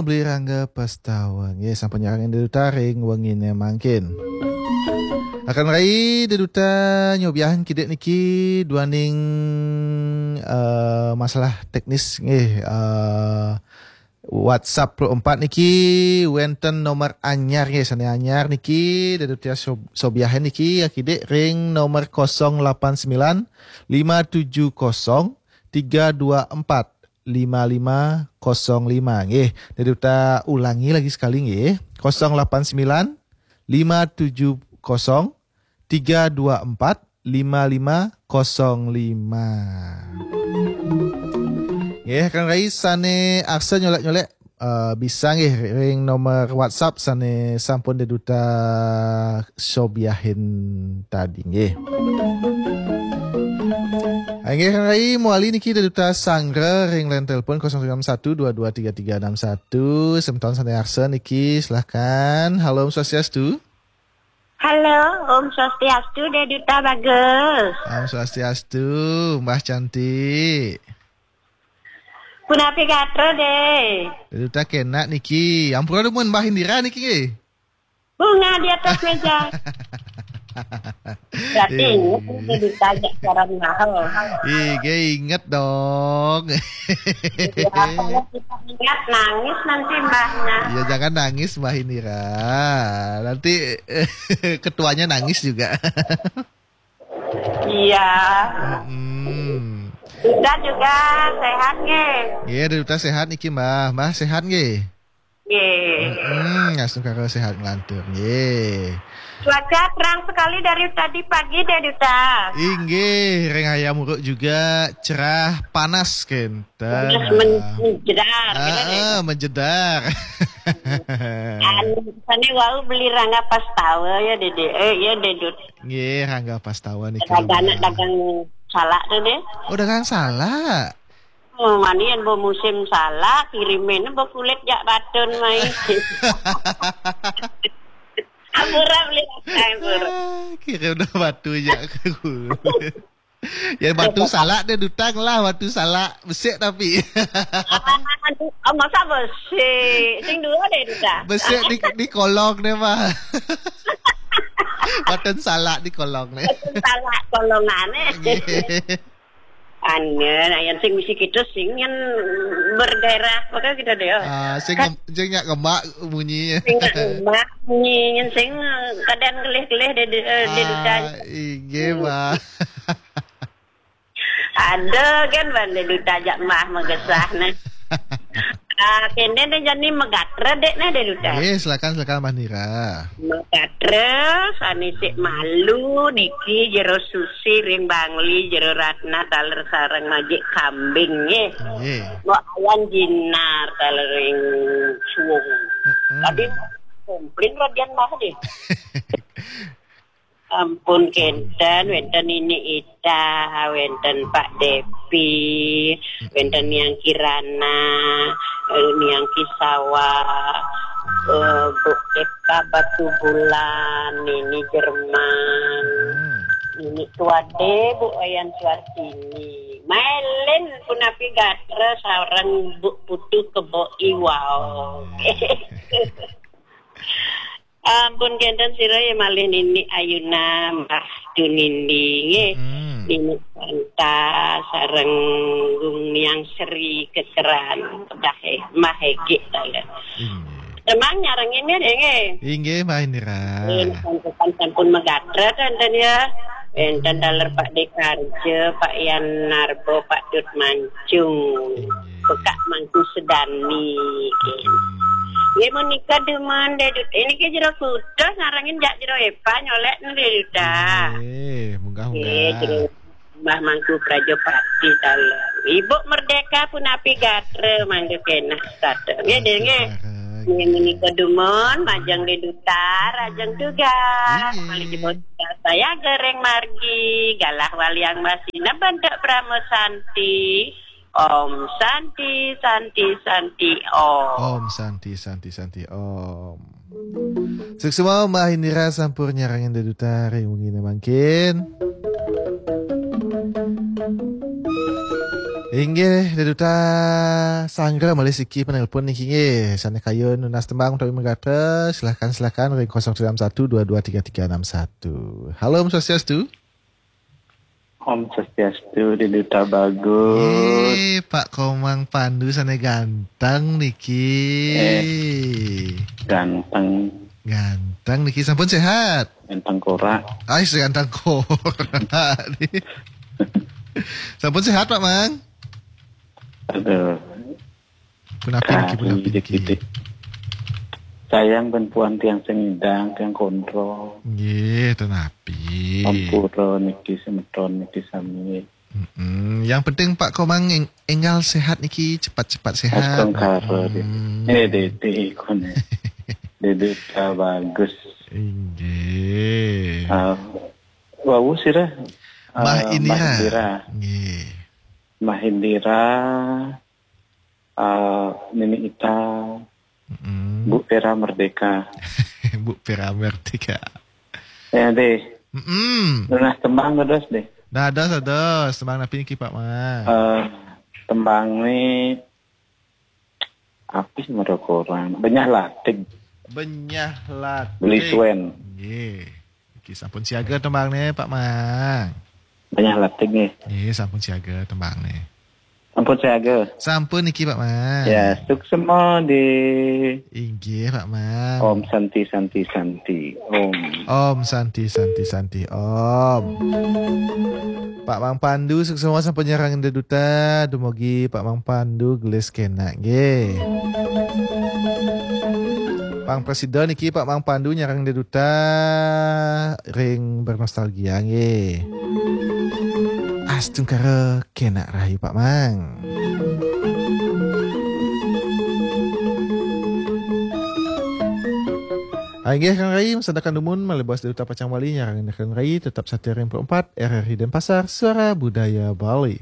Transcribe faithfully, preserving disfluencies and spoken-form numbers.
Beli Rangga Pastawa. Nggih, sampun nyarengin Dé Duta ring wengine mangkin. Akan rai Dé Duta nyobiahin kidik niki duaning eh, masalah teknis nggih, eh, WhatsApp puluh empat niki wenten nomor anyar nggih, sane anyar niki Dé Duta sob- sobiahin niki ya kidik ring nomor kosong lapan sembilan lima tujuh kosong tiga dua empat lima lima kosong lima nggih. Dé Duta ulangi lagi sekali nggih. Kosong lapan sembilan lima tujuh kosong tiga dua empat lima lima kosong lima. Nggih, Kang Rai sane arsa nyolek-nyolek eh, bisa nggih ring nomor WhatsApp sane sampun Dé Duta sobiahin tadi nggih. Inggih Kang Rai, mawali niki Dé Duta sanggra ring line telepon kosong sembilan satu dua dua tiga tiga enam satu. Semeton sane arsa niki, silahkan. Halo, Om Swastiastu. Halo, Om Swastiastu, Dé Duta Bagus. Om Swastiastu, Mbah Cantik. Punapi gatra, Dé? Dé Duta kenak niki. Ampura dumun Mbah Indira niki nggih. Bunga di atas meja. Berarti ingat nih ditanya siaran mahal. Ih, gak inget dong. Ya, kalau kita ingat nangis nanti mbahnya. Ya, jangan nangis, Mbah Indira. Nanti ketuanya nangis juga. Iya. Mm-mm. Kita juga sehat nggih. Nggih, Dé Duta sehat niki, Mbah. Mbah sehat nggih? Nggih. Mm-mm, astungkara sehat nglantur nggih. Cuaca terang sekali dari tadi pagi, Dé Duta. Inggih, ring Hayam Wuruk juga cerah panas kenten. Panas men- menjedar, gitu, Dé. Ah, menjedar. Anu, sane wau Beli Rangga Pastawa ya, Dé Dé. Eh, ya, Dé Dut. Nggih, Rangga Pastawa niki. Ada anak dagang salak tuh, Dé. Oh, dagang salak. Oh, mani yen bo musim salak, kirimin bo kulit jak batun mai. Ampura Beli Rangga, ampura. Ah, kirim dah batu jak ke kulit. Ya, batu salak Dé Duta lah, batu salak besik tapi. Ah, masa besik? Sing dua Dé Duta. Besik di, di kolong deh, Mbah. Batun salak di kolong deh. Batun salak kolongane. Nggih. Anu, nah, yang sing misi kita sing yang bergairah, apa gitu deh. Ah, sing, sing nyak ngemak munyi. Sing nyak ngemak munyi, yang sing kadang gelih-gelih Dé, Dé, Dé Duta. Ah, inggih, Mbah. Ada kan bande Duta jak mah magesah nah. Ah, kene ne jani megatra dek ne Dé Duta. Nggih, silakan, silakan, Mbah Nira. Megatra sane sik malu niki Jero Susi ring Bangli, Jero Ratna taler sareng majik kambing nggih. Nggih. Mbok Ayan Jinar taler ring Suwung. Mm-mm. Tadi komplain radian mah deh. Ampun kenten, wenten Nini Ita, wenten Pak Depi, wenten Niang Kirana, eh, Niang Kisawa, eh, Bu Eka Batubulan, Nini Jerman, Nini Tuade, Bu Wayan Suartini. Mailen punapi gatra sareng Bu Putu Kebo Iwau. Ampun kenten sira ya malih Nini Ayuna, Mbah Dunindi nggih. Hmm. Nini Santa sareng Gung Niang Sri Kekeran, Mbah E-, Mbah Egi taler. Inggih. Semang nyarengin ya deh nggih. Inggih, Mbah Indira. Nggih, sampun, sampun megatra kenten ya. Enten taler Pak Dekarja, Pak Yan Narbo, Pak Dut Mancung. Inggih. Pekak Mangku Sedani. Nggih. Hmm. Nggih menika dumun Dé Dut. Ini ke Jero Kutus narangin jak Jero Epa nyolek nu Dé Duta. Nggih, munggah, nggih, munggah. Jero Mbah Mangku Prajapati taler. Ibu Merdeka punapi gatra mangga kenak sata. Nggih, Dé, nggih. Sekarang. Nggih menika dumun majeng Dé Duta, rajeng tugas. Nggih. Malih jebos saya gereng margi, galah waliang masina bentuk Brahma Santi. Om Santi, Santi, Santi, Om. Om Santi, Santi, Santi, Om. Suksma Mbah Indira sampun nyarengin Dé Duta ring wengine mangkin. Inggih, Dé Duta Sanggra malih siki penelpon niki nggih. Sané kayun nunas tembang utawi megatra, silakan, silakan ring kosong tiga enam satu dua dua tiga tiga enam satu. Halo, Om Swastiastu. Om Swastiastu, Dé Duta Bagus. Nggih, Pak Komang Pandu sané ganteng niki. Eh, ganteng. Ganteng niki, sampun sehat? Ganteng korak. Ais, ganteng korak. Sampun sehat, Pak Mang? Aduh. Punapi niki, punapi niki? Sayang ben puan tiang sing nyidang, tiang kontrol. Nggih, ten napi. Ampura niki, semeton niki sami. Mm-mm. Yang penting Pak Komang eng-, enggal sehat niki, cepat-cepat sehat. Astungkara, Dé. Mm. Eh, Dé, Dé, koné. Dé Duta Bagus. Inggih. Ah, wau sira, Mah ah, Indira. Mah Indira. Nggih. Mah Indira, ah, Nini Ita, mm-mm, Bu Vera Merdeka. Bu Vera Merdeka. Ya, Dé. Mm-mm. Nunas tembang dados, Dé. Dados, dados. Tembang napi niki, Pak Mang? Eh, tembang ni api mereka orang. Benyah Latig. Benyah Latig. Beli Suen. Nggih. Niki sampun siaga tembang ni, Pak Mang. Benyah Latig nggih. Nggih, sampun siaga tembang ni. Sampun siaga. Sampun niki, Pak Mang. Ya, suksma, Dé. Inggih, Pak Mang. Om Santi, Santi, Santi. Om. Om Santi, Santi, Santi. Om. Pak Mang Pandu, suksma sampun nyarengin Dé Duta. Dumugi Pak Mang Pandu gelis kenak nggih. Pang prasida niki Pak Mang Pandu nyarengin Dé Duta ring bernostalgia nggih. Astungkara kenak rahayu, Pak Mang. Inggih, Kang Rai, masandekan dumun malih bos Dé Duta pacang wali nyarengin Kang Rai, tetap setia ring empat R R I Denpasar, Suara Budaya Bali.